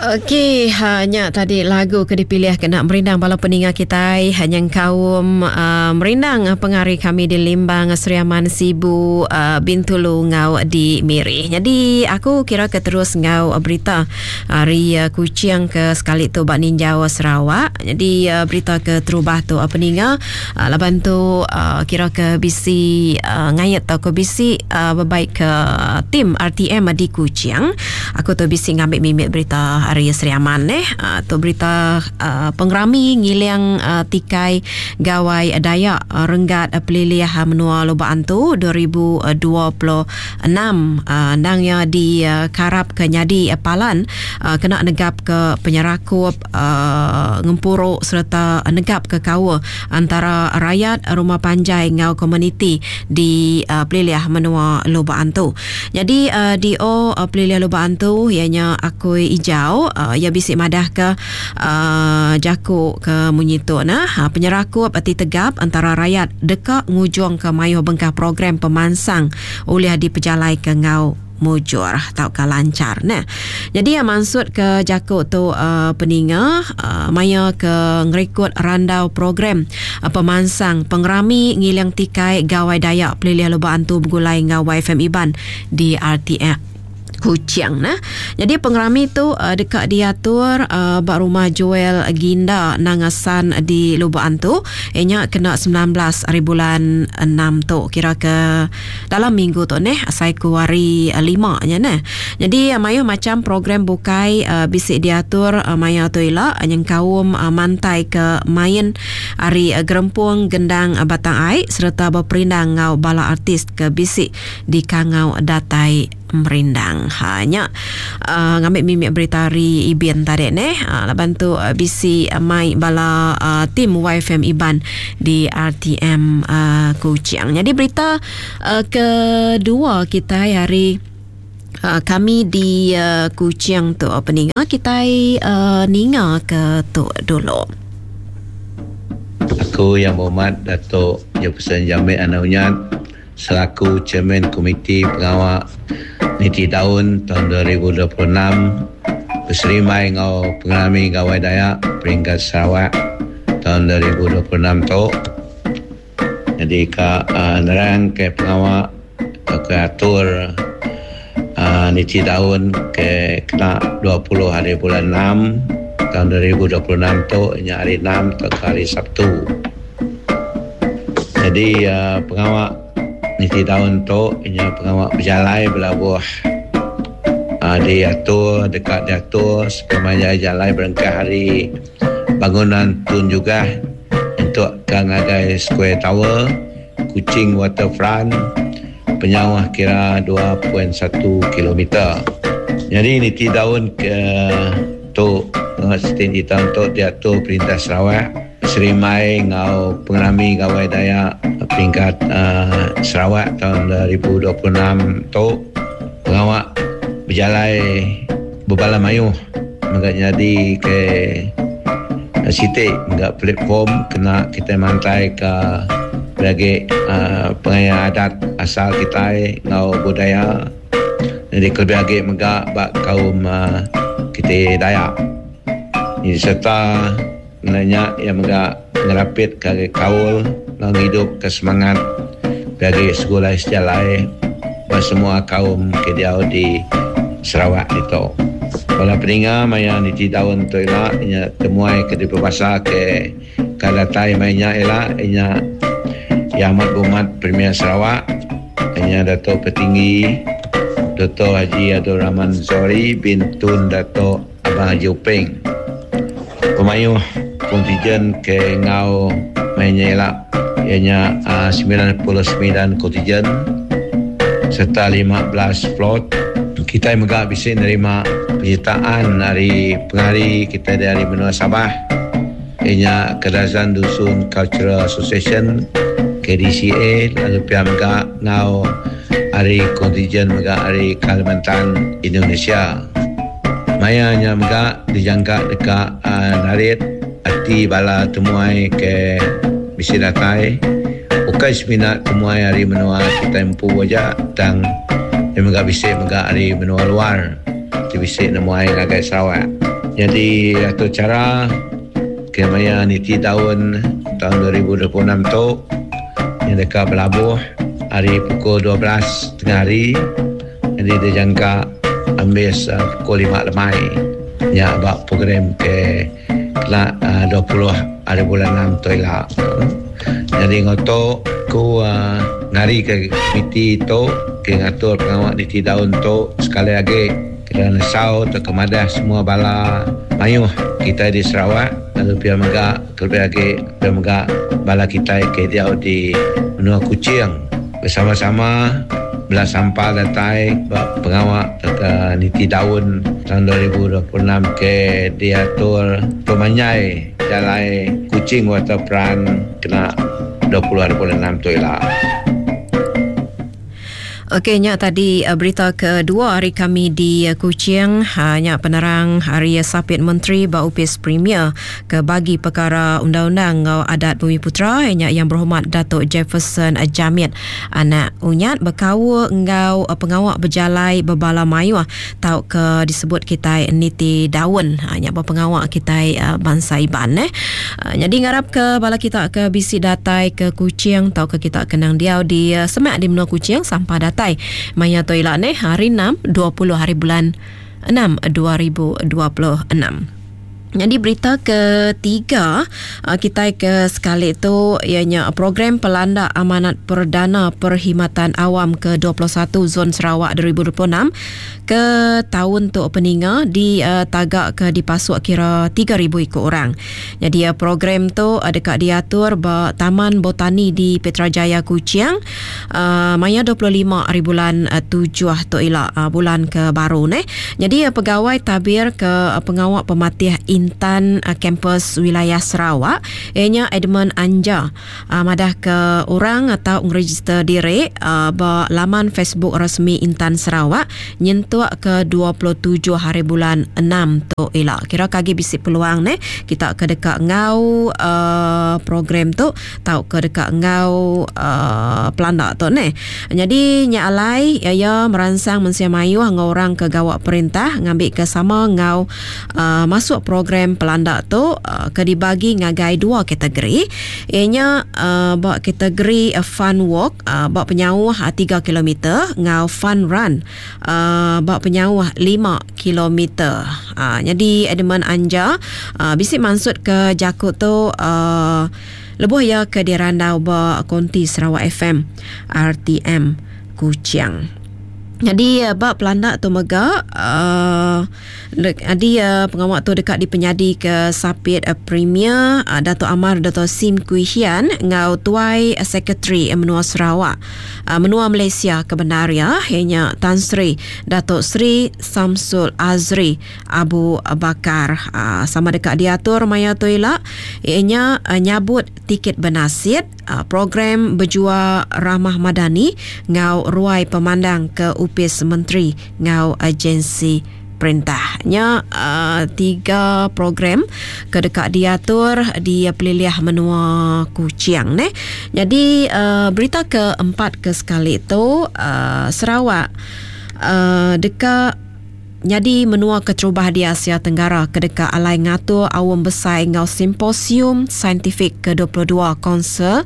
Okey, ha, nya tadi lagu ke dipilih kena merindang bala peninga kitai ha, nyengkaum uh, merindang pengari kami di Limbang, Sri Aman, Sibu, uh, Bintulu enggau di Miri. Jadi aku kira ke terus enggau berita ari uh, Kuching ke sekali tu ba ninjau Sarawak. Jadi uh, berita ke terubah tu uh, peninga uh, laban tu uh, kira ke bisi uh, ngait tauka bisi uh, bebaik ke tim RTM di Kuching. Aku tu bisi ngambi mimit berita ari Sri Aman eh. Uh, tu berita uh, pengerami ngiling uh, tikai Gawai Dayak uh, renggat uh, pelilih uh, menua Lubok Antu 2026 uh, endang iya dikarap ke nyadi uh, palan uh, kena negap ke penyerakup uh, ngempuru sereta negap ke kaul antara rayat rumah panjai enggau komuniti di uh, pelilih menua Lubok Antu. Nyadi uh, DO uh, Pelilih Lubok Antu iya nya Akui Ijau uh, iya bisi madahka uh, jaku ke munyi tu nah uh, penyerakup ti tegap antara rayat deka ngujungka mayuh bengkah program pemansang ulih dipejalaika enggau mujur tauka lanchar neh. Nyadi iya mansut ke jaku tu uh, peninga uh, maya ke ngerikut randau program uh, pemansang pengerami ngiling tikai Gawai Dayak Pelilih Lubok Antu begulai enggau YFM Iban di RTM Kuching nah. Jadi pengerami tu uh, deka diatur uh, ba rumah Joel Ginda Nangasan di Lubok Antu. Inya kena 19 hari bulan 6 tu kira ke Dalam minggu tu neh asai ku hari lima nya neh. Nyadi mayuh macham program bukai bisi diatur maya tu ila nyengkaum mantai ke main ari gerempung gendang Batang Ai sereta beperindang enggau bala artis ke bisi dikangau datai merindang. Ha nya uh, ngambi mimit berita ari Ibin tadi neh. Uh, laban tu uh, bisi uh, mai bala uh, tim YFM Iban di RTM uh, Kuching. Jadi berita uh, kedua kitai hari uh, kami di uh, Kuching tu peninga kitai uh, ninga ke tu dulu. Aku Yang Berhormat Dato' Jefferson Jamit Anak Unyat selaku Chairman Komiti Pengawa Niti Taun taun 2026 beserimbai enggau Pengerami Gawai Dayak Peringkat Sarawak taun 2026 tu nyadi ka nerang ke pengawa tauka atur niti taun ke kena 20 hari bulan enam taun 2026 tu nya hari enam tauka hari Sabtu. Nyadi pengawa niti taun tu inya pengawa bejalai belabuh uhh diatur deka diatur sepemanjai jalai berengkah ari bangunan Tun Jugah nyentuk ka ngagai Square Tower, Kuching Waterfront penyauh kira 2.1 kilometer. Nyadi niti taun ke tu niti taun tu diatur perintah Sarawak. Serimbai enggau pengerami Gawai Dayak peringkat Sarawak taun 2026 tu, pengawa bejalai bebala mayuh mega nyadi ke siti mega platform kena kitai mantaika lebih agi pengaya adat asal kitai enggau budaya nyadi kelebih agi mega ba kaum kitai Dayak sereta. Ngena nya, iya mega ngerapitka agi kaul enggau ngidupka semangat ke agi segulai sejalai ba semua kaum ke diau di Sarawak ditu. Bala peninga maya niti taun tu ila inya temuai ke dipebasa ke ka datai maya nya ila inya Yang Amat Berhormat Premier Sarawak inya Dato Patinggi Doktor Haji Abdul Rahman Zohari bin Tun Dato Abang Haji Uping. Pemayuh kontijen ke enggau maya nya ila iya nya 99 kontijen sereta 15 float. Kitai mega bisi nerima penyertaan ari pengari kitai dari menua Sabah iya nya Kadazan Dusun Cultural Association, KDCA, lalu pia mega enggau ari kontijen mega ari Kalimantan, Indonesia. Maya nya mega dijangka deka narit ati bala temuai ke bisi datai ukai semina temuai ari menua kitai empu aja tang iya mega bisi mega ari menua luar ti bisi nemuai ngagai Sarawak. Nyadi atur chara ke maya niti taun taun 2026 tu nya deka belabuh ari pukul 12 tengah hari nyadi dijangka ambis pukul lima lemai nya ba program ke kena 20 hari bulan enam tu ila. Nyadi enggau tu ku ngarika komiti tu ke ngatur pengawa niti daun tu sekali agi. Kena nesau tauka madah semua bala mayuh kitai di Sarawak lalu pia mega kelebih agi pia mega bala kitai ke diau di menua Kuching besama-sama bela sampal datai ba pengawa tauka niti daun taun 2026 ke diatur pemanjai jalai Kuching Waterfront kena 20 hari bulan enam tu ila. Okey nya tadi eh, berita kedua hari kami di eh, Kuching ha, nya penerang hari Sapit Menteri ba Opis Premier ke bagi perkara undang-undang enggau adat Bumi Putera nya Yang Berhormat Datuk Jefferson Jamit anak Unyat bekaul enggau eh, pengawa bejalai bebala mayuh tauka disebut kitai niti daun ha, nya ba pengawa kitai bansa Iban eh. Nyadi ngarap ke bala kita ke bisi datai ke Kuching tauka kita ke nang diau di semak di menua Kuching sampah datai maya tu ila neh hari 6 20 hari bulan 6 2026. Nyadi berita ketiga kitai ke sekali tu iya nya program Pelanda Amanat Perdana Perkhidmatan Awam ke 21 Zon Sarawak 2026 ke taun tu peninga di taga ke dipasuk kira 3000 iku orang. Nyadi program tu deka diatur ba Taman Botani di Petra Jaya Kuching maya 25 hari bulan tujuh tu ila bulan ke baru neh. Nyadi pegawai tabir ke pengawa pematih Intan Kampus Wilayah Sarawak iya nya Edmund Anja Madahka orang tau ngerejister diri ba laman Facebook resmi Intan Sarawak nyentuk ke 27 hari bulan enam tu ila. Kira ke agi bisi peluang neh kita ke deka enggau program tu tauka deka enggau pelanda tu neh. Nyadi nya alai iya meransang mensia mayuh enggau orang ke gawa perintah ngambika sama enggau masuk program pelanda tu ke dibagi ngagai dua kategori iya nya ba kategori fun walk ba penyauh tiga kilometer enggau fun run ba penyauh lima kilometer. Nyadi Edmund Anja bisi mansutka jaku tu lebuh iya ke dirandau ba konti Sarawak FM RTM Kuching. Nyadi ba pelanda tu mega uhh Nyadi pengawa tu deka dipenyadika Sapit Premier Datuk Amar Dato Sim Kui Hian enggau Tuai Sekretari Menua Sarawak Menua Malaysia ke bendar iya iya nya Tan Sri Dato Sri Samsul Azri Abu Bakar. Sama deka diatur maya tu ila iya nya nyabut tiket benasit, program bejua Ramah Madani enggau ruai pemandang ke opis menteri enggau agensi perintah. Nya tiga program ke deka diatur di pelilih menua Kuching neh. Nyadi berita ke empat ke sekali tu Sarawak deka Nyadi menua keterubah di Asia Tenggara ke deka alai ngatur aum besai enggau simposium saintifik ke 22 Konsil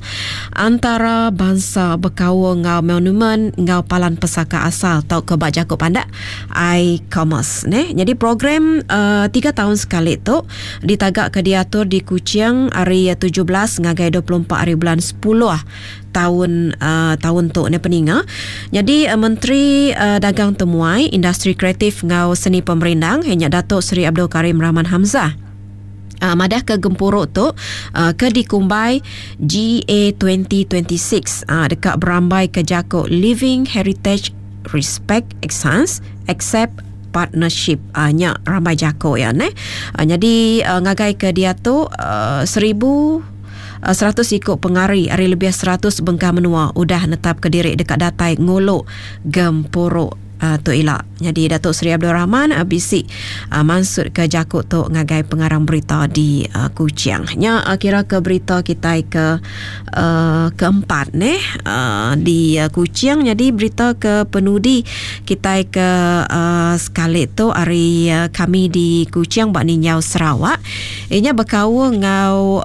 Antara Bansa Bekaul enggau Monumen enggau Palan Pesaka Asal tauka ba jaku pandak I-Commerce. Neh. Nyadi program tiga taun sekali tu ditagaka diatur di Kuching ari 17 ngagai 24 hari bulan sepuluh taun taun tu ne peninga. Nyadi Menteri Dagang Temuai, Industri Kreatif enggau Seni Pemerindang iya nya Datuk Seri Abdul Karim Rahman Hamzah madahka gempuru tu ke dikumbai GA 2026 deka berambaika jaku Living Heritage Respect Exchange Accept Partnership nya rambai jaku iya neh. Nyadi ngagai ke diatu 1000 100 iku pengari ari lebih 100 bengkah menua udah netapka diri deka datai ngulu gempuru tu ila. Nyadi Datuk Seri Abdul Rahman bisi mansutka jaku tu ngagai pengarang berita di Kuching. Nya kira ke berita kitai ke keempat neh di Kuching. Nyadi berita ke penudi kitai ke sekali tu ari kami di Kuching ba Ninjau Sarawak iya nya bekaul enggau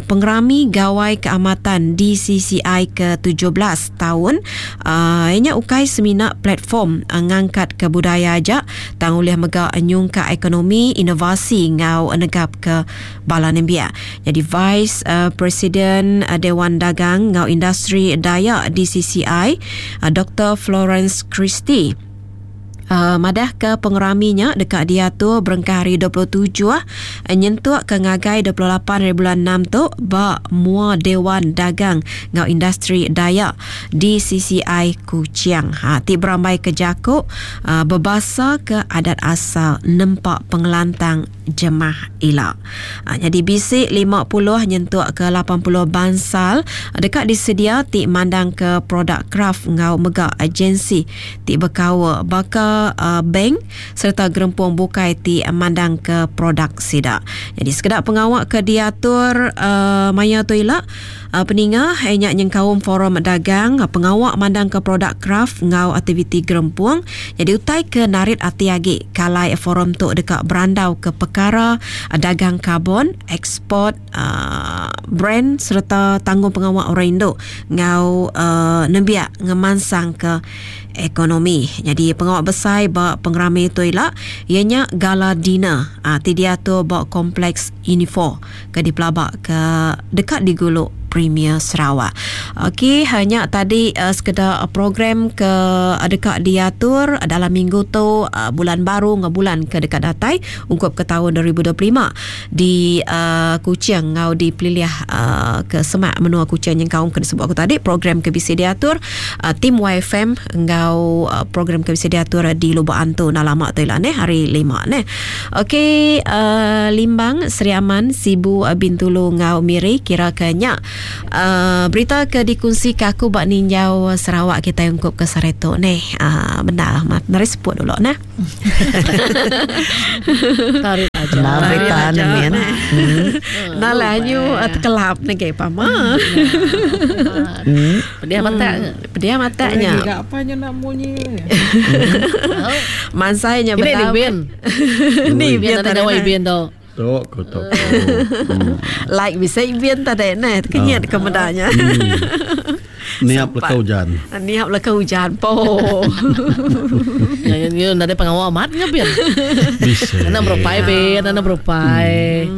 pengerami Gawai Keamatan DCCI ke 17 taun. Iya nya ukai semina platform ngangkatka budaya aja tang ulih mega nyungkak ekonomi, inovasi enggau negapka bala nembiak. Nyadi Vice Presiden Dewan Dagang enggau Industri Dayak DCCI, Doktor Florence Christy madahka pengerami nya deka diatur berengkah hari 27 nyentuk ke ngagai 28 hari bulan enam tu ba Mua Dewan Dagang enggau Industri Dayak DCCI Kuching ti berambaika jaku bebasaka adat asal nempa pengelantang jemah ila. Nyadi bisi 50 nyentuk ke 80 bansal deka disedia ti mandangka produk kraf enggau mega agensi ti bekaul baka bank sereta gerempung bukai ti mandangka produk sida. Nyadi sekeda pengawa ke diatur maya tu ila peninga iya nya nyengkaum forum dagang, pengawa mandangka produk kraf enggau aktiviti gerempung. Nyadi utai ke narit ati agi kalai forum tu deka berandauka pekara dagang karbon, eksport, brand sereta tanggungpengawa orang indu enggau nembiak ngemansangka ekonomi. Nyadi pengawa besai ba pengerami tu ila iya nya gala dinner ti diatur ba Kompleks Unifor. ke dipelaba ke deka digulu Premier Sarawak. Okey, nya tadi uh, sekeda program ke deka diatur dalam minggu tu uh, bulan baru enggau bulan ke deka datai ungkup ke taun 2025 di uh, Kuching enggau di pelilih uh, ke semak menua Kuching nyengkaum ke disebut aku tadi program ke bisi diatur uh, tim YFM enggau uh, program ke bisi diatur di Lubok Antu enda lama tu ila neh hari lima neh. Okey uh, Limbang, Sri Aman, Sibu, uh, Bintulu enggau Miri kira ke nya uh, berita ke dikunsi ke aku ba ninjau Sarawak kitai ungkup ke sehari tu neh. Uh, bendar amat. Meri seput dulu neh. Tarik aja. Benar berita ni min. Nalah nyu tekelap negi pama. Pedih matak. Pedih matak nya. Giga apa nya nak munyi. Mansai nya betul. Ni ibin tadi nyawa ibin tu. Tok ko tok. Like bisa ibin tadi neh kenyit ke meda nya. Niap leka ujan. Niap leka ujan po. Ya ya nadai pengawa amat nya bin. Bisa. Enda berupai bin, enda berupai.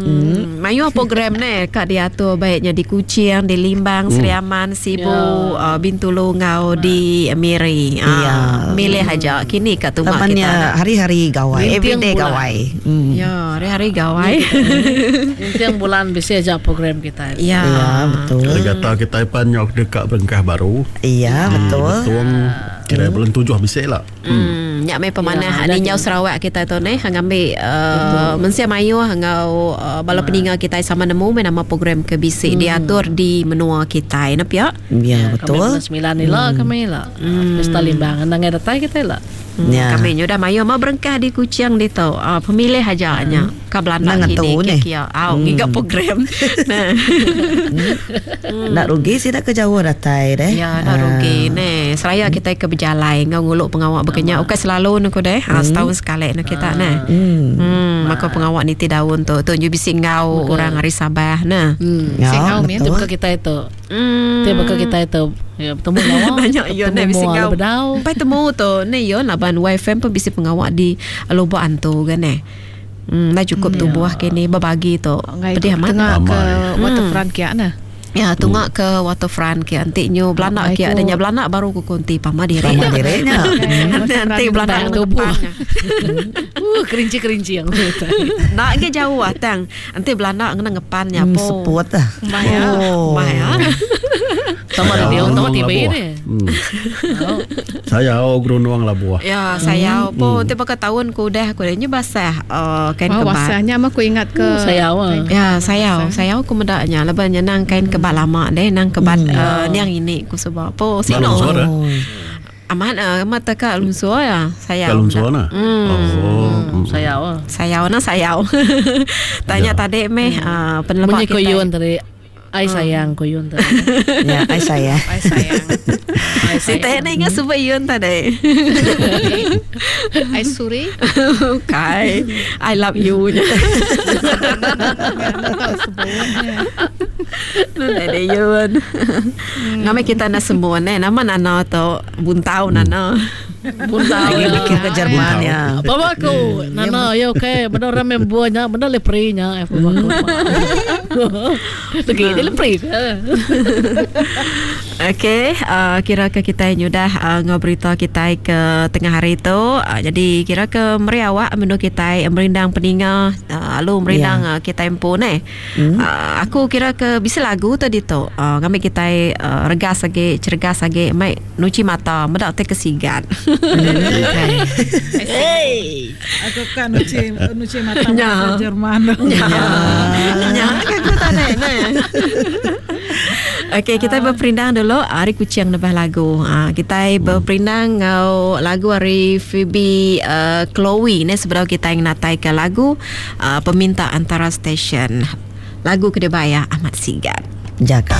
Mayuh program neh ka diatur baik nya di Kuching, di Limbang, Sri Aman, Sibu, uh, Bintulu enggau di Miri. Uh, ya. Milih aja kini ka tunga Taman kita. Ya, hari-hari gawai, everyday gawai. Ya, hari-hari gawai. Ninting bulan bisi aja program kita. Ya, ya betul. Kata kita pan nyok deka berengkah baru. Ya, betul. Betung kira bulan tujuh bisi lah. Hmm, nya meh pemanah ya, ninjau Sarawak kita tu neh ngambi uh, mensia mayuh enggau uh, bala peninga kita sama nemu meh nama program ke bisi diatur di menua kita ne pia. Ya, betul. Kami bulan 9 ni lah kami lah. Pesta Limbang nang datai kita lah. Ya. Kami nya udah mayuh mah berengkah di Kuching ditu. Uh, pemilih aja nya. Ka Belanda Nang kini ngetu neh. kia. Au ngiga program. Nah. Enda rugi sida ke jauh datai deh. Ya, enda rugi neh. Seraya kitai ke bejalai enggau ngulu pengawa baka nya ukai selalu ne ku deh. Ha, setahun sekali ne kita neh. Hmm, maka pengawa niti daun tu. Tu nyu bisi enggau orang ari Sabah neh. Ya, Bisi enggau betul. Ti baka kitai tu. Ti baka kitai tu ya betemu lawa. Nanya iya neh bisi mua enggau. bedau. Empai temu tu neh iya laban YFM pun bisi pengawa di Lubok Antu ga neh. Hmm, enda cukup tubuh kini bebagi tu. Pedih amat. Tengah ke waterfront kia nah. Ya, tunga ke waterfront kia enti nyu belanda kia nya belanda baru ku konti pama diri. Pama diri nya. Enti belanda tubuh. Kerinci-kerinci yang. Enda agi jauh tang. Enti belanda ngena ngepan nya po. Seput ah. Oh. Mai ah. Sama radio, sama TV ni. Sayau gerunung labuh. Ya, sayau po enti baka taun ku udah ku nya basah kain kebat. Basah nya mah ku ingat ke. Sayau ah. Ya, sayau. Sayau ku meda nya laban nya nang kain kebat lama deh, nang kebat niang ini ku suba. Po sino. Amat amat tak ka lunsur ya. Sayau. Ka lunsur nah. Oh. Sayau. Sayau nah sayau. Tanya tadi meh peneleba Munyi kita. Kuyun tadi. Ai sayang kuyun tadi. Ya, ai sayang. Ai sayang. Ai Si sayang. teh ingat sebut Yun tadi. Ai suri. Bukan. I love you. Tak sebutnya. Nda Yun. Nama kita nak semua ne. Nama Nana tu buntau Nana. Buntau. Lagi mikir ke Jerman ya. Bawa aku. Nana, ya okey. Benda orang main buahnya, benda lepri-nya. Eh, bawa aku. Lagi dia lepri ke? Okey, kira ke kita nyudah ngau berita kita ke tengah hari tu. Jadi kira ke meri awak menu kita merindang peninga, lalu merindang yeah. Kita empu ne. Aku kira ke bisa lagu tadi tu. Kami kita regas lagi, cergas lagi, mai nuci mata, medak te kesigan. Hey. Aku kan nuci nuci mata Ya. bahasa Jerman. Ya. Ya, kan aku tak nak ne. Okey, kita berperindang dulu hari kucing nebah lagu. Kita berperindang ngau lagu hari Phoebe Chloe ni sebelum kita yang natai ke lagu peminta antara stesen. Lagu kedebaya Ahmad Sigat. Jaga.